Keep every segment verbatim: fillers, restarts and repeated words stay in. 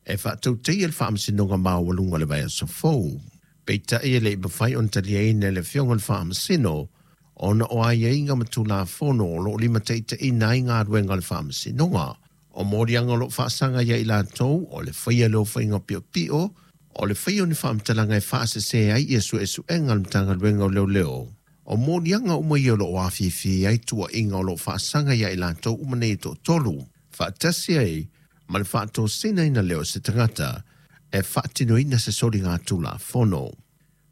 E faatautaia le Faamasinoga Maualuga i le vaiaso fou. Peitai e le i mafai ona taliaina e le Afioga i le Faamasino ona o aiaiga ma Tulafono o lo o limataitaiina ai galuega a le Faamasinoga. O moliaga o lo o faasaga ia i latou o le faia lea o faiga piopio, o le faia o ni faamatalaga e faasese ai ia suesuega a le Matagaluega o Leoleo. O moliaga uma ia o lo o afifi ai tuuaiga o lo o faasaga ia i latou uma nei e toatolu, faatasi ai ma le faatosinaina lea o se tagata e faatinoina se soliga tulafono.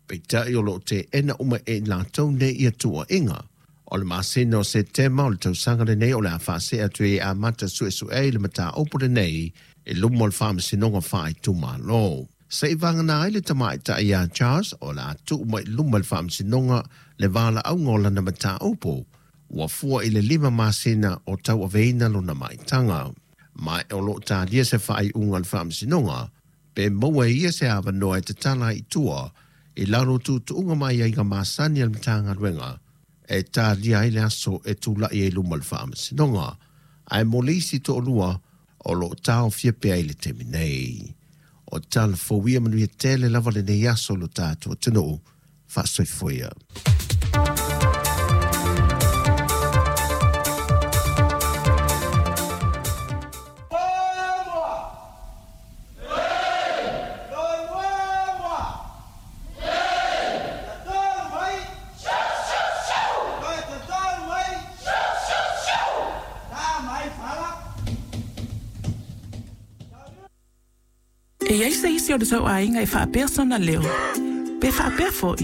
Peitai o lo o teena uma e i latou nei ia tuuaiga. O le masina o Setema o le tausaga lenei o le a faasee atu ai e amata suesue ai le mataupu lenei i luma o le Faamasinoga Faaitumalo. Se i vagana ai le tamaitai ia Charles o le a tuu mai i luma o le Faamasinoga le valaauga o lana mataupu ua fua i le lima masina o tauaveina lona maitaga. Ma o lo o talia se faaiuga a le Faamasinoga pe maua e ia se avanoa e tatala ai i tua i lalo o tuutuuga ma aiaiga masani a le Matagaluega e talia ai le aso e tulai ai i luma o le Faamasinoga. Ae mo le isi toalua o lo o taofia pea i le taimi nei. O tala fou ia manuia tele lava lenei aso i lo tatou atunuu. Faasoifua ia. E i ai se isi o le tou aiga e faapea sona leo? Pe faapea foi?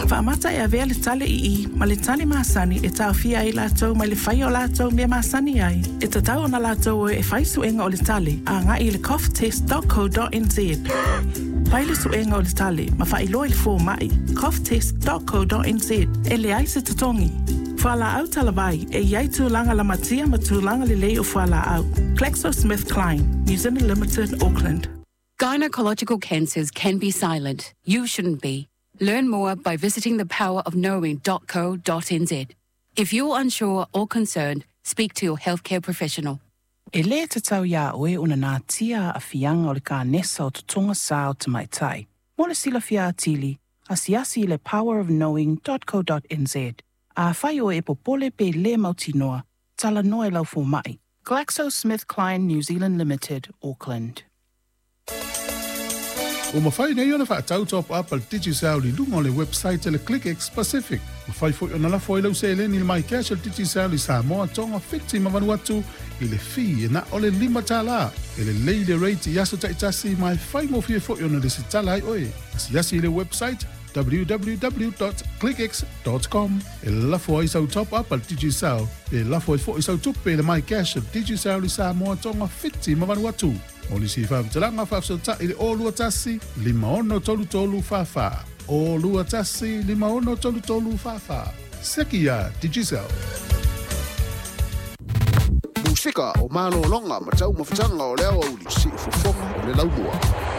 Faamata e avea le tale i i ma le tale masani e taofia ai latou mai le faia o latou mea masani ai. E tatau ona latou o e fai suega o le tale agai i le cough test dot co dot nz. Fai le suega o le tale ma faailoa i le fomai cough test dot co dot nz e leai se totogi. Fualaau talavai e i ai tulaga lamatia ma tulaga lelei o fualaau. GlaxoSmithKline, New Zealand Limited, Auckland. Gynecological cancers can be silent. You shouldn't be. Learn more by visiting the power of knowing dot co dot nz. If you're unsure or concerned, speak to your healthcare professional. E lē tatau iā oe ona natia aafiaga o le kanesa o totoga sa o tamaitai. Mo le silafia atili, asiasi i le power of knowing dot co dot nz. Afai oe e popole pe lē mautinoa, talanoa i lau fomaʻi. GlaxoSmithKline New Zealand Limited, Auckland. Ua mafai nei ona faatau top up a le Digicel i luga o le website a le ClickX Pacific. Mafai foi ona lafo ai lau seleni i le MyCash a le Digicel i Samoa, Tonga, Fiti ma Vanuatu i le fee e na o le lima tala. E lelei le rate i aso taitasi ma e faigofie foi ona lesitala ai oe. Asiasi i le website w w w dot clickx dot com e lafo ai sau top up a le Digicel pe lafo ai foi sau tupe i le MyCash a le Digicel i Samoa, Tonga, Fiti ma Vanuatu. Mo nisi faamatalaga faafesootai i le o lua tasi, lima ono tolu tolu fa fa. O lua tasi, lima ono tolu tolu fa fa. Seki ia Digicel. Musika o malologa ma taumafataga o le aoauli, siufofoga o le laumua.